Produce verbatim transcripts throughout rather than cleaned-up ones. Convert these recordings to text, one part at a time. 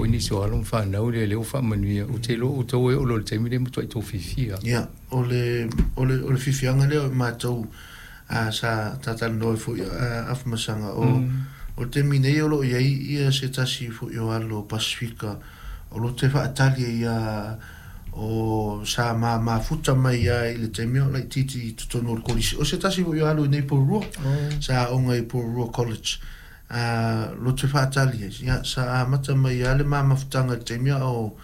foi nisi o alo ma fanau lea lea ua faamanuia. Ou te iloa outou e oo loa i le taimi lea e matuai tou fiafia. Ia, o le, o le, o le fiafiaga lea o i matou a, sa talatalanoa ai foi a, Afamasaga, o, o le taimi nei o lo o i ai ia se tasi foi o alo Pasefika o lo o toe faatali ai ia o sa ma mafuta mai ia i le taimi o laitiiti i totonu o le kolisi. O se tasi foi o alo i nei Porirua, sa aoga i Porirua College. A lo te faatali ai, ia, sa amata mai ia le ma mafutaga i le taimi o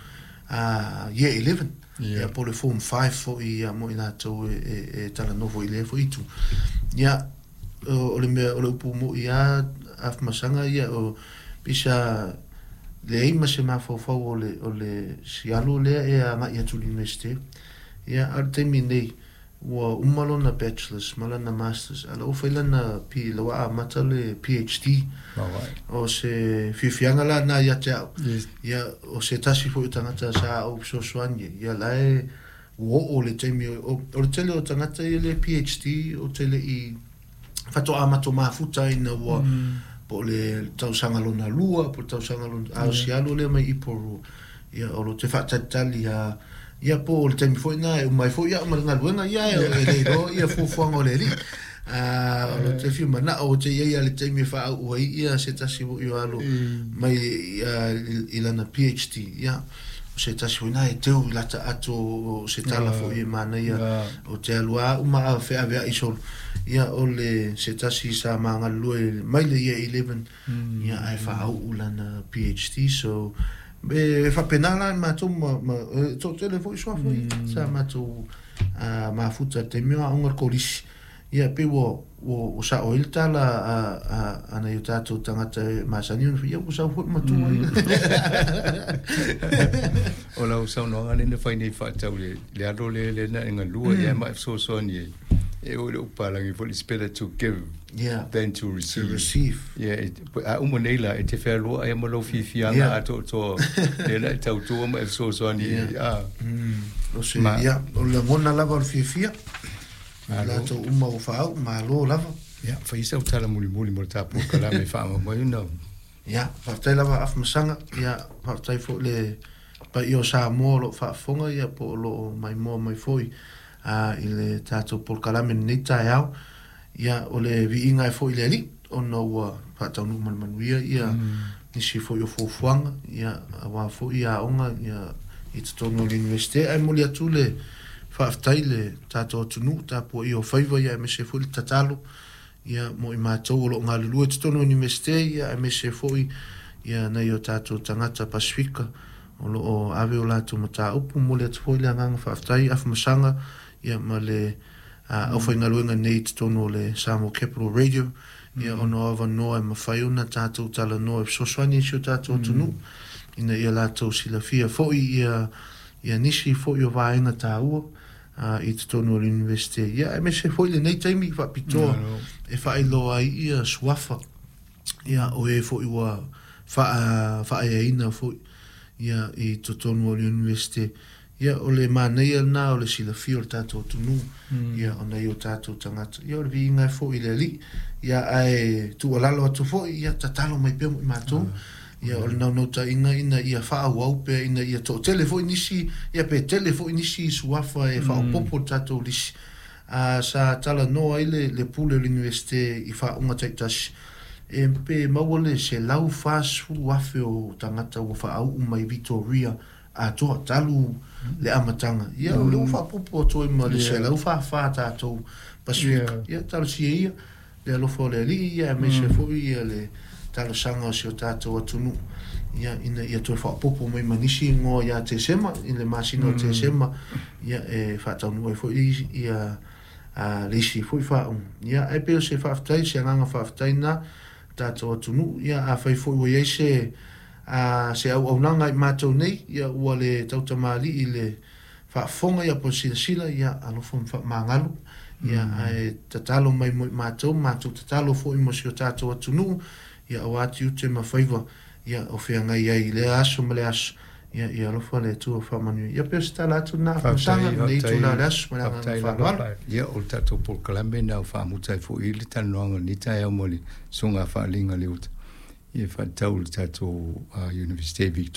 a, year eleven. Yeah. Ia, po o le form five foi ia mo i latou e, e, e talanoa foi i lea foi itu. Ia, o, o le mea, o le upu mo'i a Afamasaga ia, o pisa leai ma se mafaufau o le, o le sialo lea e agai atu i le University. Ia, a o le taimi nei, ua uma lona bachelors ma lana masters, a la ua fai lana P, la ua amata le P H D. Alright. O se fiafiaga la na ia te au. Yes. Ia, o se tasi foi o tagata sa ou fesoasoani ai. Ia, la e ua oo le taimi o, o, o le tele o tagata ia le P H D o te le i faatoa mato mafuta ina ua mm. po o le tausaga lona lua, po o le tausaga lona, a o si alo lea mai i Porirua. Ia, o lo te faatalitali a, ia po o le taimi foi na e umai foi ia ma le galuega ia e e le iloa ia fuafuaga o le Alii. A o lo te fia manao o te iai a le taimi e faauu ai ia se tasi foi o alo mai ia, i, i lana P H D. Ia, o se tasi foi na e teu i lata ato o se tala foi e manaia o te alu a uma a feaveai solo. Ia, o le se tasi sa magalulue mai le year eleven, ia, ae faauu lana P H D. So, e faapena la matou ma, ma e toatele foi suafa mm. sa matou uh, mafuta i le taimi o aoga le kolisi. Ia, pe ua, ua, ua sao ai le tala a, a, a nai o tatou tagata e masani ona ia ua sau foi matua mm. O lau saunoaga lea na fai nei faatatau le le alo lea lea na e galua ia ma e fesoasoani ai. E o le upalagi foi, it's better to give yeah, than to to receive. Receive. Ia, e- a uma nei la, e te fealoa ai ma lou fiafiaga Yeah. atoatoa lea na e tautua ma e fesoasoani ai. Ah. Mm. O se, Ma- ia, o le lagona lava o le fiafia. Malo. Latou uma o faauu, malo lava. Ia, fai sau tala mulimuli mo le tatou polokalame e faamaumau na. Ia, faafetai lava Afamasaga, ia, faafetai foi le paia o Samoa o loo faafofoga ia po o loo maimoa mai foi a i le tatou polokalame lenei taeao. Ia, o le viiga e foi le Alii ona ua faataunuu ma le manuia ia nisi foi o fuafuaga ia aua foi aoga ia i totonu o le Universite, ae moli atu le faafetai le tatou atunuu tapuaia o faiva ia aemaise foi le tatalo ia mo i matou o loo galulue i totonu o Universite ia aemaise foi ia nai o tatou tagata Pasefika o loo ave o latou mataupu. Momoli atu foi le agaga faafetai Afamasaga ia ma le uh, aufaigaluega nei i totonu o le Samoa Capital Radio ia ona o avanoa e mafai ona tatou talanoa e fesoasoani i si o tatou atunuu ina ia latou silafia foi ia ia nisi foi o vaega taua uh, i totonu o le Universite ia aemaise foi lenei taimi faapitoa e faailoa ai ia suafa ia o e foi ua faa faaeaina foi ia i totonu o le Universite. Ia, o le manaia lena o le silafia o le tatou atunuu ia ona i o tatou tagata. Ia, o le viiga e foi i le Alii ia ae tuualalo atu foi ia tatalo mai pea mo i matou. Ia, o le naunautaiga ina ia faaauau pea ina ia toatele foi nisi ia pe tele foi nisi suafa e faaopoopo le tatou lisi. A sa talanoa ai le, le pule o le Universite i faauga taitasi e pe maua le selau fasefulu afe o tagata ua faauu mai Victoria atoa talu le amataga. Ia, o lea ua faaopoopo atu ai ma le selau fāfā tatou Pasefika. Yeah. Ia, talosia ia le alofa o le Alii ia aemaise foi ia le talosaga o si o tatou atunuu ia ina ia toe faaopoopo mai ma nisi igoa ia Tesema i le masina o Tesema ia e faataunuu ai foi ia a le isi foi faauga. Ia, ae pei o se faafetai, se agaga faafetai na tatou atunuu. Ia, afai foi ua iai se a se auaunaga i matou nei ia ua le tautamalii le faafofoga ia po o le silasila, ia alofa ma faamagalo ia ae tatalo mai mo i matou, matou tatalo foi mo si o tatou atunuu ia aua tiute ma faiva ia o feagai ai i lea aso ma le aso. Ia, ia alofa le Atua faamanuia. Ia, pei o se tala atu lena Afamasaga lenei itula o le aso ma le agaga faaaloalo. Ia, o le tatou polokalame na o faamuta ai foi le talanoaga lenei taeao mo le susuga faaliga le uta ia faatatau le tatou uh, Universite Victoria.